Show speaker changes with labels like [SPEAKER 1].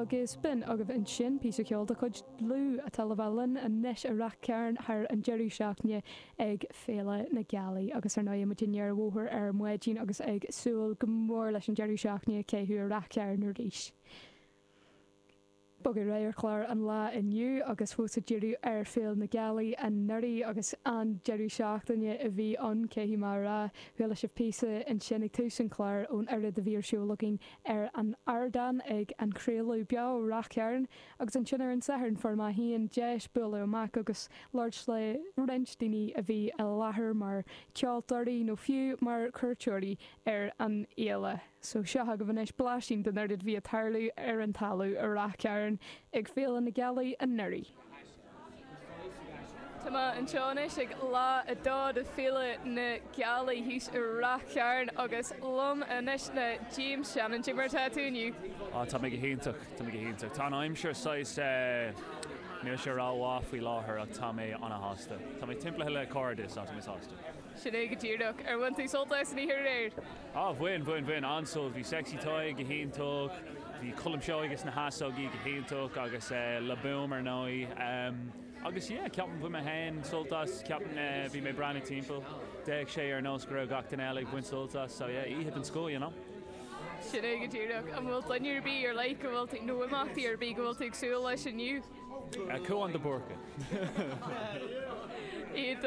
[SPEAKER 1] Agus b'in agaibh ansin píosa ceoil de chuid Dlúth atá le bheith linn anois i Rath Cairn thar an deireadh seachtaine ag Féile na Gealaí. Agus ar ndóigh muid i ndeireadh an bhóthair ar maidin agus ag súil go mór leis an deireadh seachtaine a chaitheamh i Rath Cairn arís. Bogadh ar aghaidh ar chlár an lae inniu agus fós ag díriú ar Féile na Gealaí anuraidh agus an-deireadh seachtaine a bhí ann, caithfidh mé a rá. Chuala sibh píosa ansin ag tús an chláir ón oiread a bhí ar siúl againn ar an ardán ag an chraoladh beo ó Rath Cairn agus ansin ar an Satharn fuair mé féin deis bualadh amach agus labhairt le roinnt daoine a bhí i láthair mar cheoltóirí nó fiú mar chuairteoirí ar an fhéile. So seo agaibh anois blaisín den oiread a bhí ag tarlú ar an talamh i Rath Cairn ag Féile na Gealaí anuraidh. Tá mé anseo anois ag lá 2 de Féile na Gealaí thíos i Rath Cairn agus liom anois ná James Shannon. Cad é mar atá tú inniu?
[SPEAKER 2] Á, tá mé go hiontach, tá mé go hiontach. Tá an aimsir saghas eh, níl sé rómhaith faoi láthair ach tá mé ana-shásta. Tá mé timpeallaithe le cairde so tá mé sásta.
[SPEAKER 1] Sin é go díreach. Ar bhain tú sult as an oíche aréir?
[SPEAKER 2] Á, bhain, bhain, bhain, an-sult. Bhí Sexy Tadhg go hiontach, bhí Colm Seoighe is na hEasógaí go hiontach agus Le Boom ar ndóigh. Agus yeah, ceapaim bhain mé féin sult as, ceapaim bhí mé ag breathnú timpeall, d'fhéach sé ar nós go raibh gach duine eile ag baint sult as, so yeah, oíche den scoth, you know.
[SPEAKER 1] Sin é go díreach. An bhfuil duine ar bith ar leith go bhfuil tú, nó imeachtaí ar bith go bhfuil tú ag súil leis inniu?
[SPEAKER 2] Cúán de Búrca.
[SPEAKER 1] Iontach.